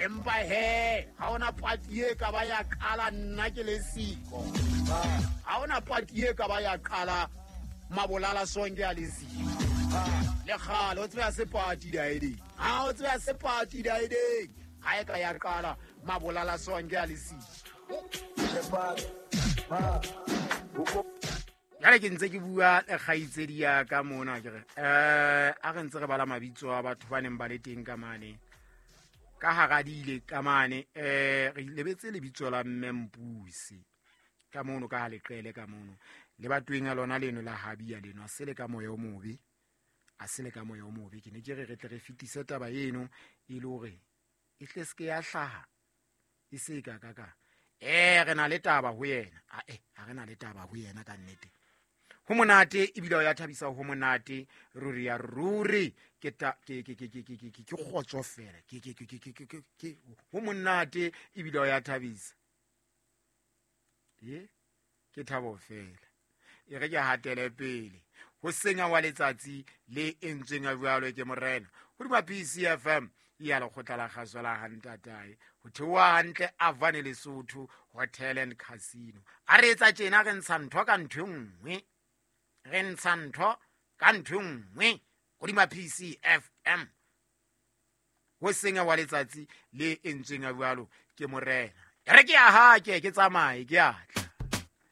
Empa he ga ona pati e ka ba ya qala nna ke le siko. Ga ona pati e ka ba ya qala Mabolala Sonke a le siko. Le kgale o tsebe se pati daedeng, ga o tsebe se pati daedeng, ga e ka ya qala Mabolala Sonke a le siko. Jale ke ntse ke bua le kgaitsedi ya ka mona, ke re a re ntse re bala mabitso a batho ba neng ba le teng ka mane ka hara dile ka mane. Re lebetse lebitso la mme Mpusi ka mono ka ha leqele ka mono le batweng ya lona leno la habia leno, a se le ka moya o mobe, a se le ka moya o mobe. Ke ne ke re re tle re fetise taba eno e le hore e tle se ke ya hlaha e se ka ka ka re na le taba ho yena. A re na le taba ho yena ka nnete. Ho monate ebile o ya thabisa, ho monate ruri ya ruri. Ke ta ke ke ke ke ke ke ke kgotso fela. Ke ke ke ke ke ke ke ho monate ebile o ya thabisa. Ye ke thabo fela. E re ke hatele pele ho senya wa letsatsi le entsweng a jwalo ke morena hodima PCFM ya lekgotla la kgaso la hantatae ho theoha hantle Avane Lesotho Hotel and Casino. A re etsa tjena, re ntsha ntho ka ntho e nngwe, re ntsha ntho ka ntho e nngwe hodima PCFM ho senya wa letsatsi le entsweng a jwalo ke morena. E re ke a hake ke tsamaye ke a tla.